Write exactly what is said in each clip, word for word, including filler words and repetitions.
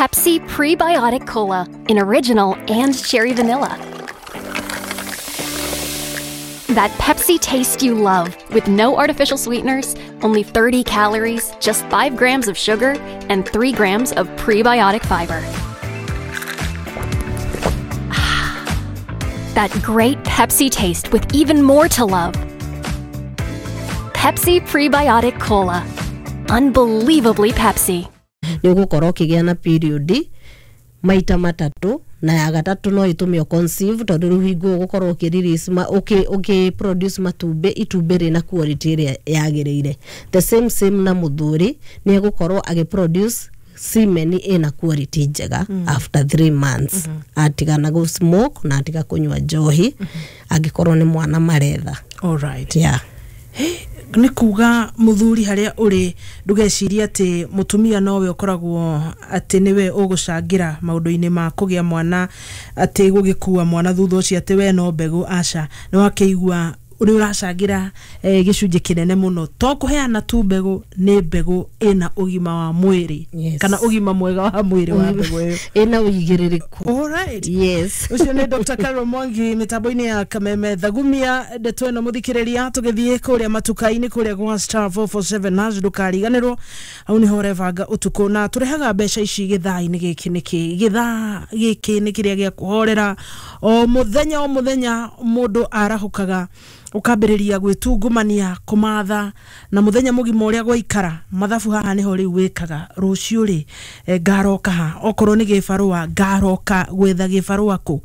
Pepsi Prebiotic Cola in original and cherry vanilla. That Pepsi taste you love with no artificial sweeteners, only thirty calories, just five grams of sugar, and three grams of prebiotic fiber. That great Pepsi taste with even more to love. Pepsi Prebiotic Cola. Unbelievably Pepsi. Nĩ ũgũkorwo ũkĩgĩa na period maita matatũ, na ya gatatũ no ĩtũme conceive, tondũ rĩu hingo ũgũkorwo ũkĩ release ma, ũkĩ, ũkĩ produce matumbĩ, itumbĩ rĩna quality ĩrĩa yagĩrĩire. The same same na mũthuri, nĩ egũkorwo agĩ produce semen ĩna quality njega mm. after three months mm -hmm. atigana gũ smoke na atiga kũnyua njohi mm -hmm. angĩkorwo nĩ mwana maretha. Alright. Yeah. Nĩ kuga mũthuri harĩa ũrĩ, ndũgecirie atĩ mũtumia nowe ũkoragwo atĩ nĩwe ũgũcangĩra maũndũ-inĩ ma kũgĩa mwana, atĩ gũgĩkua mwana thutha ũcio, atĩ we no mbegũ. Aca, nĩ wakĩigua ũrĩa ũracangĩra eh, gĩcunjĩ kĩnene mũno, to kũheana tu mbegũ, nĩ mbegũ ĩna ũgima wa mwĩrĩ Yes. kana ũgima mwega wa mwĩrĩ wa mbegũ ĩyo. Ĩna ũigĩrĩrĩku. Alright. Yes. Ũcio nĩ Doctor Carol Mwangi mĩtambo-inĩ ya Kameme. Thagumia ndeto ĩno, mũthikĩrĩria, tũgĩthiĩ kũrĩa matuka-inĩ, kũrĩa gwa star four four seven hash. Ndũkariganĩrwo hau nĩho ũrebanga ũtukũ na tũrehaga mbeca ici gĩthaa-inĩ gĩkĩ. Nĩkĩ gĩthaa gĩkĩ nĩ kĩrĩa gĩa kũhorera o mũthenya o mũthenya. Mũndũ arahũkaga, ũkambĩrĩria gwĩtungumania kũmatha na mũthenya mũgima ũrĩa gwaikara mathabu haha nĩho rĩu wĩkaga rũciũ rĩ, eh, ngaroka ha? Okorwo nĩ gĩbarũa, ngaroka gwetha gĩbarũa kũ?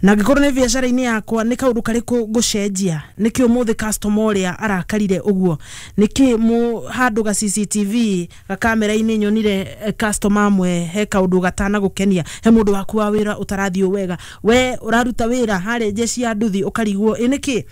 Na angĩkorwo nĩ biacara-inĩ yakwa, nĩ kaũndũ karĩkũ ngũcenjia? Nĩkĩ ũmũthĩ customer ũrĩa arakarire ũguo? Nĩkĩ mũ handũ ga C C T V gakamera-inĩ nyonire eh, customer amwe he kaũndũ gatana gũkenia? He mũndũ waku wa wĩra ũtarathiĩ wega, we ũraruta wĩra harĩa jeshi ya nduthi, ũkarigwo ĩ nĩkĩ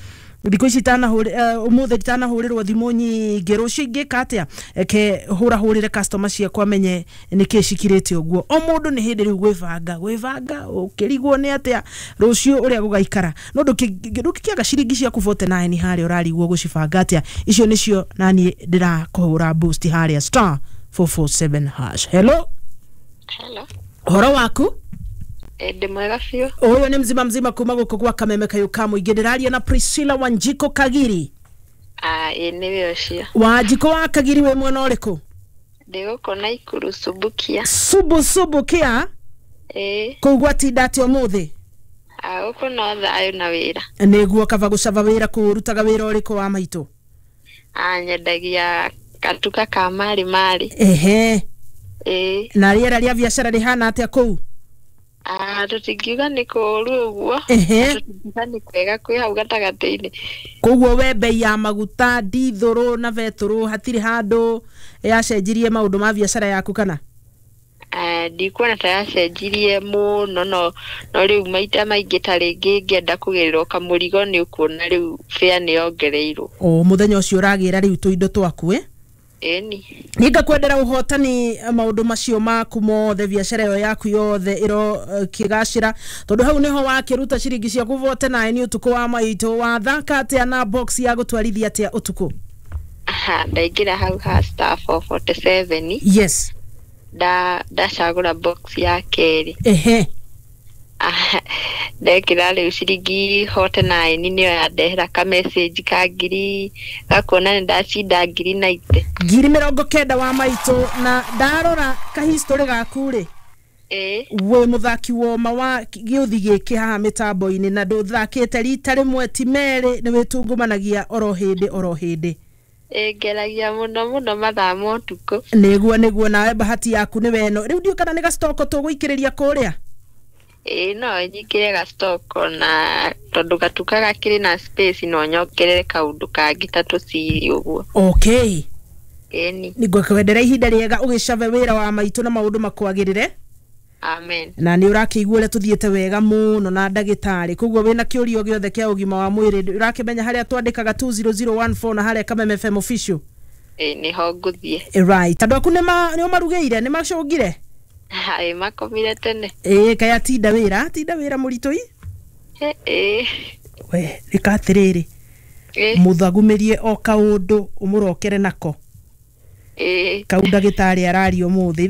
thikũ ici itanahũrĩ ũmũthĩ itanahũrĩrwo thimũ nyingĩ, rũciũ ingĩka atĩa? Eke hũrahũrĩre customer ciakwa menye nĩkĩ cikirĩte ũguo. O mũndũ nĩ hĩndĩ rĩu gwĩbanga gwĩbanga, ũkĩrigwo nĩ atĩa rũciũ ũrĩa gũgaikara, no ndũngĩkĩaga ciringi ciaku forty-nine harĩa ũrarigwo gũcibanga atĩa. Icio nĩcio naniĩ ndĩrakũhũra boost harĩa star four four seven hash. Hello. Hello. Ũhoro waku? Eh, ndĩ mwega biũ. Ũyũ nĩ mzima mzima kuma gũkũ gwa Kameme kayũ ka mũingĩ. Ndĩraria na Priscilla Wanjiko Kagiri? Ah, ĩ nĩwe ũcio. Wanjiko wa Kagiri, wĩ mwena ũrĩkũ? Ndĩ gũkũ Naikuru, Subukia. Subu Subukia. Ĩ. Kũu gwatinda atĩa ũmũthĩ? Ah, gũkũ no thayũ na wĩra. Nĩguo, kaba gũcaba wĩra. Kũu ũrutaga wĩra ũrĩkũ wa maitũ? Ah, nyendagia katuka ka marĩ marĩ. Ehe. Ĩ. Na rĩera rĩa biacara rĩhana atĩa kũu? Ah, tũtingiuga nĩ kũũru ũguo. Ehe. Tũtingiuga nĩ kwega, kwĩ hau gatagatĩ-inĩ. Koguo we bei ya maguta, ndithũrũ na betũrũ hatirĩ handũ yacenjirie maũndũ ma biacara yaku, kana? Ah, ndikuona ta yacenjirie mũno, no no rĩu maita maingĩ ta rĩngĩ ngĩenda kũgĩrĩrwo kamũrigo, nĩ ũkuona rĩu fare nĩ yongereirwo. O mũthenya ũcio ũragĩra rĩu tũindo twaku ĩ? Ĩni. Niĩ ngakwendera ũhotani maũndũ macio maku mothe, biacara ĩyo yaku yothe ĩro eh, kĩgacĩra, tondũ hau nĩho wakĩruta ciringi ciaku forty-nine ũtukũ wa maitũ. Wathaka atĩa na box ya gũtwarithia atĩa ũtukũ? Aha, ndaingĩra hau ha star four forty-seven. Yes. Nda ndacagũra box ya kerĩ. Ehe. Ah, ndekĩra rĩu ciringi forty-nine, nĩyo yandehera ka message ka ngiri gakuona nĩ ndacinda ngiri ninety. Ngiri mĩrongo kenda wa maitũ. Na ndarora kahistory gaku rĩ, Ĩĩ. wĩ mũthaki woma wa gĩũthi gĩkĩ haha mĩtambo-inĩ, na ndũthakĩte rita rĩmwe ti merĩ, nĩ wĩtungumanagia oro hĩndĩ oro hĩndĩ. Ĩ, ngeragia mũno mũno mathaa ma ũtukũ. Nĩguo nĩguo, nawe bahati yaku nĩ weno. Rĩu ndiũ kana nĩ gacitoko tũgũikĩrĩria kũrĩa? Ĩĩ, no nyingĩre gastoko, na tondũ gatuka gakĩrĩ na space, no nyongerere kaũndũ kangĩ ta tũciri ũguo. Okay. Ĩni. Nĩngũkwendera ihinda rĩega ũgĩcave wĩra wa maitũ na maũndũ makwagĩrĩre. Amen. Na nĩ ũrakĩigua ũrĩa tũthiĩte wega mũno na ndagĩtarĩ, koguo wĩna kĩũria o gĩothe kĩa ũgima wa mwĩrĩ, ũrakĩmenya harĩa twandĩkaga two zero zero one four na harĩa Kameme F M official. Ĩĩ, nĩho ngũthiĩ. Eh, right, andũ aku nĩ nĩ ũmarugĩire, nĩ macũngire? Ĩ, makomire tene. Ĩĩ, kaĩ atinda wĩra, atinda wĩra mũritũ i? Ĩĩ. We rĩka atĩrĩrĩ, Ĩĩ. mũthagumĩrie o kaũndũ ũmũrokere nako Ĩĩ. kau ndagĩtarĩ araria ũmũthĩ.